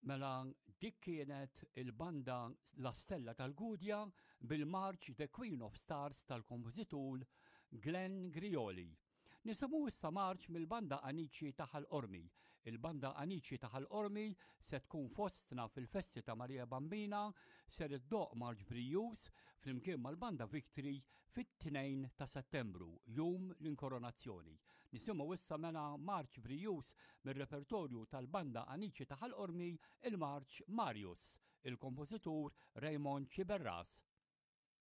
Mela dik kienet il-banda La Stella tal-Gudja bil-marċ The Queen of Stars tal-kompożitur Glenn Grioli. Nisimgħu issa marċ mill-banda Anici ta' Ħal Qormi. Il-banda Anici ta' Ħal Qormi se tkun fostna fil-festi ta' Marija Bambina ser iddoqq marċ brijuż flimkien mal-banda Victory fit-2 ta' Settembru, jum l-inkoronazzjoni. Nisimgħu issa mela marċ brijuż mir-repertorju tal-banda Anici ta' Ħal Qormi, il-marċ Marius, il-kompożitur Raymond Sciberras.